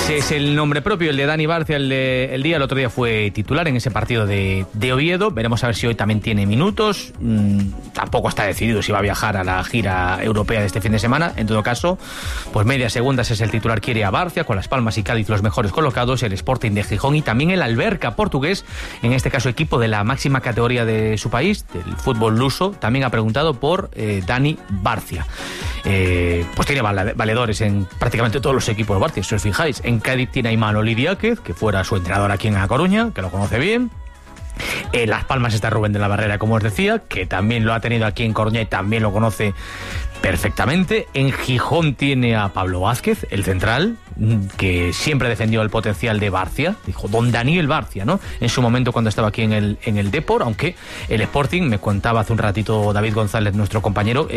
Ese es el nombre propio, el de Dani Barcia. El otro día fue titular en ese partido de Oviedo. Veremos a ver si hoy también tiene minutos. Tampoco está decidido si va a viajar a la gira europea de este fin de semana. En todo caso, pues medias segundas es el titular, quiere a Barcia, con Las Palmas y Cádiz los mejores colocados, el Sporting de Gijón y también el Alverca portugués, en este caso equipo de la máxima categoría de su país, del fútbol luso, también ha preguntado por Dani Barcia. Pues tiene valedores en prácticamente todos los equipos de Barcia, si os fijáis. En Cádiz tiene a Imanol Diáquez, que fuera su entrenador aquí en A Coruña, que lo conoce bien. En Las Palmas está Rubén de la Barrera, como os decía, que también lo ha tenido aquí en Coruña y también lo conoce perfectamente. En Gijón tiene a Pablo Vázquez, el central, que siempre defendió el potencial de Barcia, dijo don Daniel Barcia, ¿no? En su momento cuando estaba aquí en el Depor, aunque el Sporting, me contaba hace un ratito David González, nuestro compañero,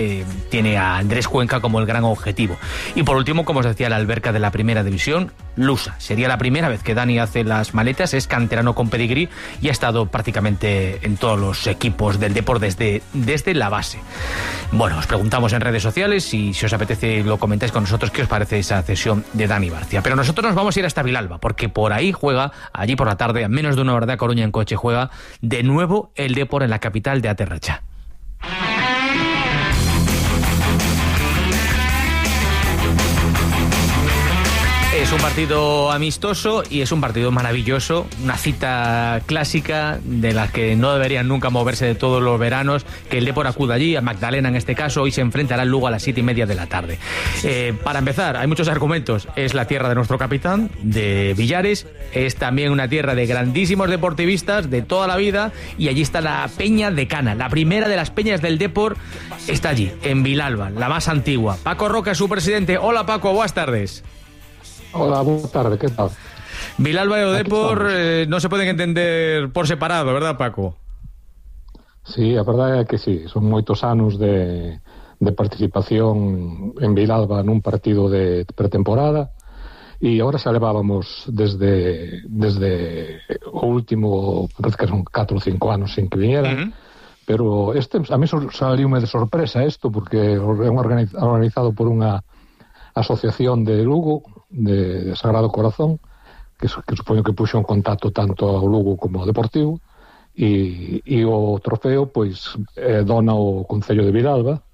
tiene a Andrés Cuenca como el gran objetivo. Y por último, como os decía, el Alverca de la primera división, lusa. Sería la primera vez que Dani hace las maletas, es canterano con pedigrí y ha estado prácticamente en todos los equipos del Depor desde la base. Bueno, os preguntamos en redes sociales y si os apetece lo comentáis con nosotros qué os parece esa cesión de Dani Barcia. Pero nosotros nos vamos a ir hasta Vilalba, porque por ahí juega, allí por la tarde, a menos de una hora de A Coruña en coche, juega de nuevo el Depor en la capital de Aterracha. Es un partido amistoso y es un partido maravilloso, una cita clásica de las que no deberían nunca moverse de todos los veranos, que el Depor acuda allí, a Magdalena en este caso. Hoy se enfrentará al Lugo a las 7:30 de la tarde. Para empezar, hay muchos argumentos. Es la tierra de nuestro capitán, de Villares, es también una tierra de grandísimos deportivistas de toda la vida, y allí está la Peña de Cana, la primera de las peñas del Depor, está allí, en Vilalba, la más antigua. Paco Roca es su presidente. Hola Paco, buenas tardes. Hola, buenas tardes, ¿qué tal? Vilalba e o Depor non se poden entender por separado, verdad, Paco? Sí, a verdade é que sí, son moitos anos de participación en Vilalba nun partido de pretemporada, e agora xa levábamos desde o último, parece que son 4 ou 5 anos sin que viñera, pero a mí saliume de sorpresa isto, porque é organizado por unha asociación de Lugo, de Sagrado Corazón, que supoño que puxo en contacto tanto ao Lugo como ao Deportivo, e o trofeo pois dona o Concello de Vilalba,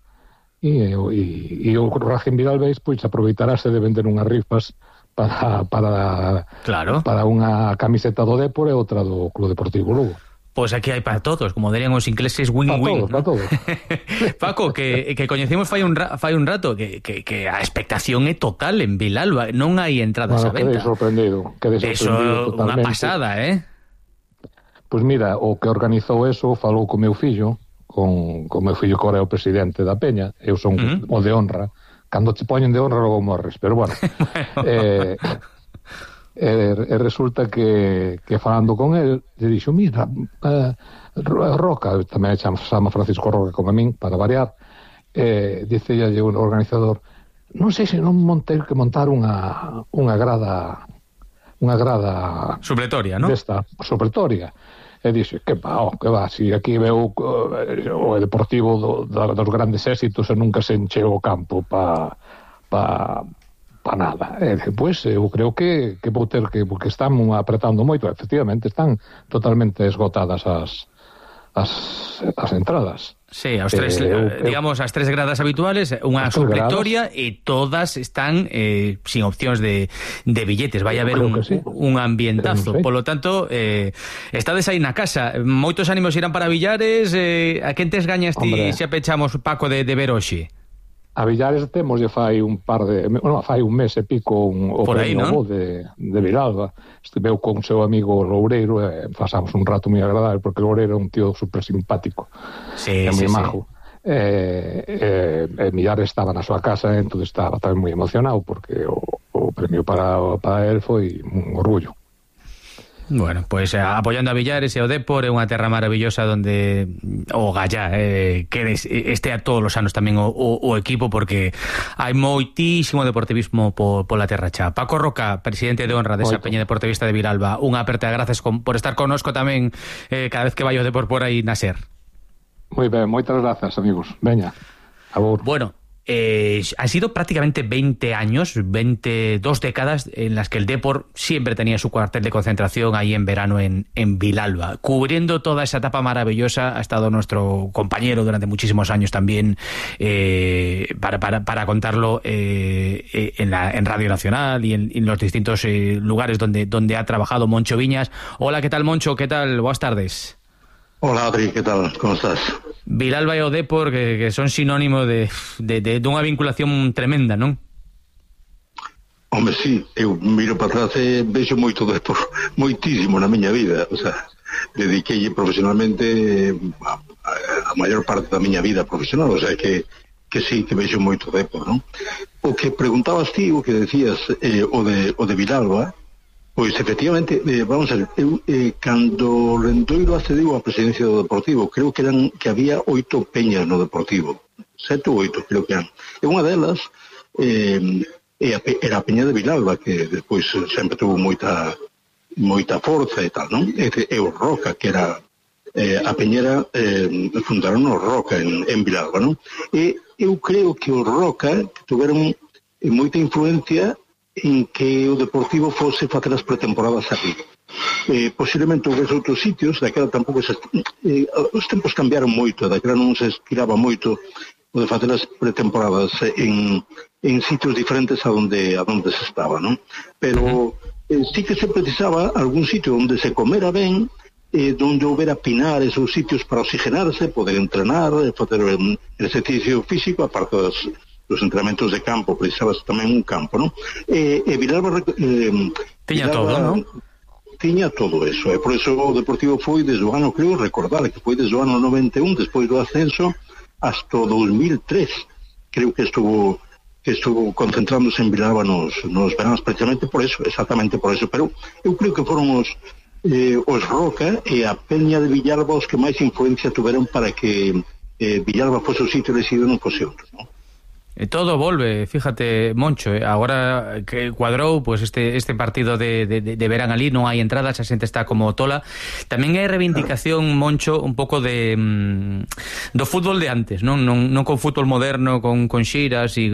e o Racing Vilalbés pois aproveitarase de vender unhas rifas para unha camiseta do Depor e outra do Club Deportivo Lugo. Pois aquí hai para todos, como dirían os ingleses, win-win. Para todos. Paco, que coñecemos fai un rato que a expectación é total en Vilalba, non hai entradas a venta. Quedei sorprendido Eso, totalmente. Unha pasada, Pois mira, o que organizou eso falou co meu fillo, con meu fillo que agora é o presidente da Peña, eu son o de honra, cando te poñen de honra logo morres, pero bueno. E resulta que falando con el lle dixo, mira, Roca, tamén chama Francisco Roca como a min, para variar, dicelle o organizador, non sei se non ter que montar unha grada supletoria, non? Desta, supletoria. E dixe, que va, si aquí veo o Deportivo dos grandes éxitos e nunca se encheu o campo para nada. Depois eu creo que vou ter que, porque están apretando moito, efectivamente están totalmente esgotadas as entradas. Sí, aos tres, digamos, as tres gradas habituales, unha supletoria, e todas están sin opcións de billetes. Vai haber un ambientazo. Polo tanto, estades aí na casa. Moitos ánimos irán para Villares. A quen tes gañas ti se pechamos, Paco, de ver hoxe? A Villares temos fai un mes e pico o premio de Vilalba. Estiveu con o seu amigo Loureiro e pasamos un rato moi agradable, porque Loureiro é un tío super simpático, é moi majo. Villares estaba na súa casa, entón estaba tamén moi emocionado, porque o premio para él foi un orgullo. Bueno, pues apoyando a Villares e o Depor, é unha terra maravillosa onde o Gallá que este a todos os anos tamén o equipo, porque hai moitísimo deportivismo pola terra xa. Paco Roca, presidente de honra desa Peña Deportivista de Vilalba, unha aperta de grazas por estar connosco tamén cada vez que vai o Depor por aí na SER. Moi ben, moitas grazas, amigos. Veña, a vos. Bueno, Han sido prácticamente 20 años, 22 décadas en las que el Depor siempre tenía su cuartel de concentración ahí en verano en Vilalba. Cubriendo toda esa etapa maravillosa ha estado nuestro compañero durante muchísimos años también para contarlo en Radio Nacional y en los distintos lugares donde ha trabajado, Moncho Viñas. Hola, ¿qué tal, Moncho? ¿Qué tal? Buenas tardes. Hola, Adri, ¿qué tal? ¿Cómo estás? Vilalba e o Depor que son sinónimo de unha vinculación tremenda, non? Hombre, sí, eu miro para atrás e vexo moito Depor, moitísimo na miña vida, o sea, dediquei profesionalmente a maior parte da miña vida profesional, o sea, que sí, que vexo moito Depor, non? O que preguntabas ti, o que decías, o de Vilalba, pois efectivamente, vamos a ver, cando Lendoiro accediu á presidencia do Deportivo, creo que había 8 peñas no Deportivo, 7 ou 8 creo que eran, e unha delas era a peña de Vilalba, que despois sempre tuvo moita forza e tal, non? E o Roca, que era a peñera, fundaron o Roca en Vilalba, non? E eu creo que o Roca tuveron moita influencia en que o Deportivo fose facer as pretemporadas aquí. Posiblemente houvese outros sitios, daquela tampouco os tempos cambiaron moito, daquela non se estiraba moito o de facer as pretemporadas en sitios diferentes a donde se estaba, non? Pero sí que se precisaba algún sitio onde se comera ben, donde houbera pinares ou sitios para oxigenarse, poder entrenar, facer exercicio físico, aparte dos entrenamentos de campo, precisabas tamén un campo, non? E Vilalba tiña todo, non? Tiña todo eso, e por eso o Deportivo foi desde o ano, creo recordar, que foi desde o ano 91, despois do ascenso, hasta o 2003, creo que estuvo concentrándose en Vilalba nos veranos, precisamente por eso, exactamente por eso, pero eu creo que foron os Roca e a peña de Vilalba os que máis influencia tuveron para que Vilalba fose o sitio elegido non fose outro, non? Todo volve, fíjate, Moncho, agora que cuadrou pues este partido de verán ali, non hai entradas, a xente está como tola. Tamén hai reivindicación, Moncho, un pouco do fútbol de antes, non con fútbol moderno, con xiras e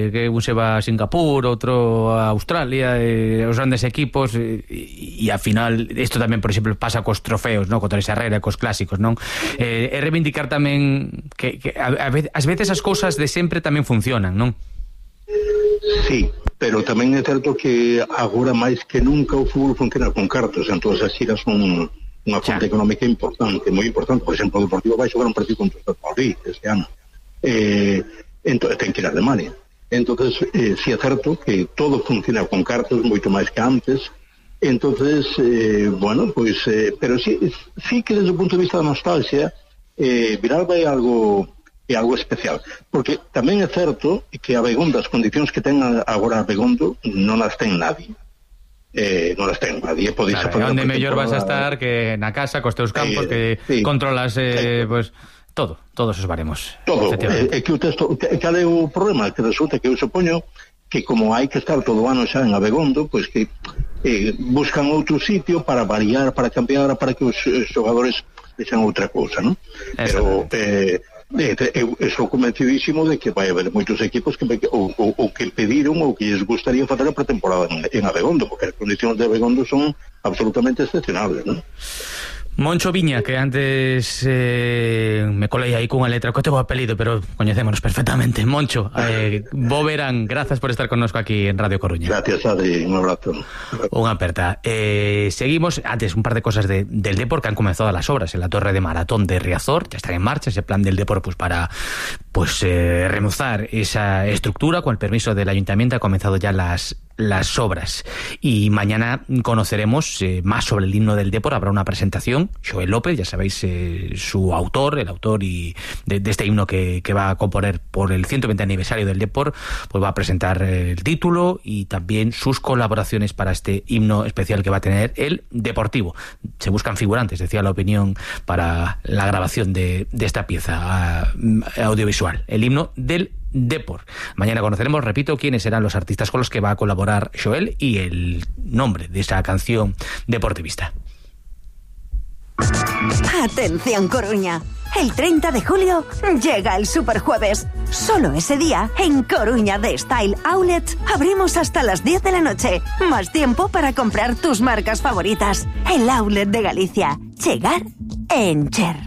que un se va a Singapur, outro a Australia, os grandes equipos e ao final, isto tamén, por exemplo, pasa cos trofeos, non? Contra esa Herrera, cos clásicos, non? É reivindicar tamén que ás veces as cousas de sempre tamén funcionan, non? Sí, pero tamén é certo que agora máis que nunca o fútbol funciona con cartos, entón as xiras son unha fonte económica importante, moi importante. Por exemplo, o Deportivo vai xogar un partido contra o Madrid este ano, entón ten que ir a Alemania. Entón, sí é certo que todo funciona con cartos moito máis que antes. Entonces, bueno, pois, pero sí que desde o punto de vista da nostalgia, Vilalba é algo especial, porque tamén é certo que a Begondo, as condicións que ten agora a Begondo non as ten nadie, podes claro, onde mellor vas a estar que na casa, cos teus campos, que sí, controlas pues, todos os baremos todo, que o texto, cal é o problema? Que resulta que eu supoño que como hai que estar todo o ano xa en Abegondo, pois que buscan outro sitio para variar, para cambiar, para que os xogadores deixan outra cousa, non? Pero eu estou convencidísimo de que vai haber moitos equipos que pediron ou que lles gustaría facer a pretemporada en Abegondo, porque as condicións de Abegondo son absolutamente excepcionables, non? Moncho Viña, que antes me colei aí cunha letra que teu apelido, pero coñecémonos perfectamente. Moncho, bo verán, grazas por estar connosco aquí en Radio Coruña. Gracias, Adri, un abrazo. Unha aperta. Seguimos, antes un par de cosas del Depor, que han comenzado las obras en la torre de maratón de Riazor, ya están en marcha ese plan del Depor pues para remozar esa estructura. Con el permiso del ayuntamiento ha comenzado ya las obras y mañana conoceremos más sobre el himno del Depor. Habrá una presentación, Xoel López, ya sabéis, el autor y de este himno que va a componer por el 120 aniversario del Depor, pues va a presentar el título y también sus colaboraciones para este himno especial que va a tener el Deportivo. Se buscan figurantes, decía la opinión, para la grabación de esta pieza audiovisual, el himno del Depor. Mañana conoceremos, repito, quiénes serán los artistas con los que va a colaborar Xoel y el nombre de esa canción deportivista. Atención, Coruña. El 30 de julio llega el Superjueves. Solo ese día, en Coruña de Style Outlet, abrimos hasta las 10 de la noche. Más tiempo para comprar tus marcas favoritas. El Outlet de Galicia. Chegar en Cher.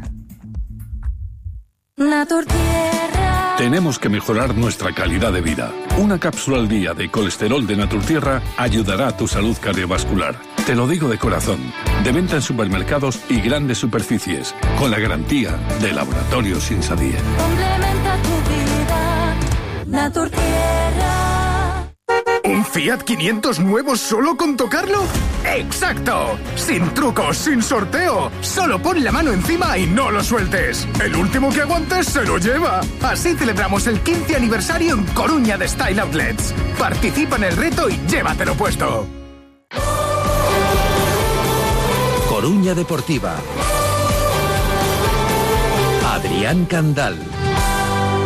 Naturtierra. Tenemos que mejorar nuestra calidad de vida. Una cápsula al día de colesterol de Naturtierra ayudará a tu salud cardiovascular. Te lo digo de corazón. De venta en supermercados y grandes superficies, con la garantía de Laboratorios Insadie. Complementa tu vida. Naturtierra. ¿Un Fiat 500 nuevo solo con tocarlo? ¡Exacto! Sin trucos, sin sorteo. Solo pon la mano encima y no lo sueltes. El último que aguantes se lo lleva. Así celebramos el 15 aniversario en Coruña de Style Outlets. Participa en el reto y llévatelo puesto. Coruña Deportiva. Adrián Candal.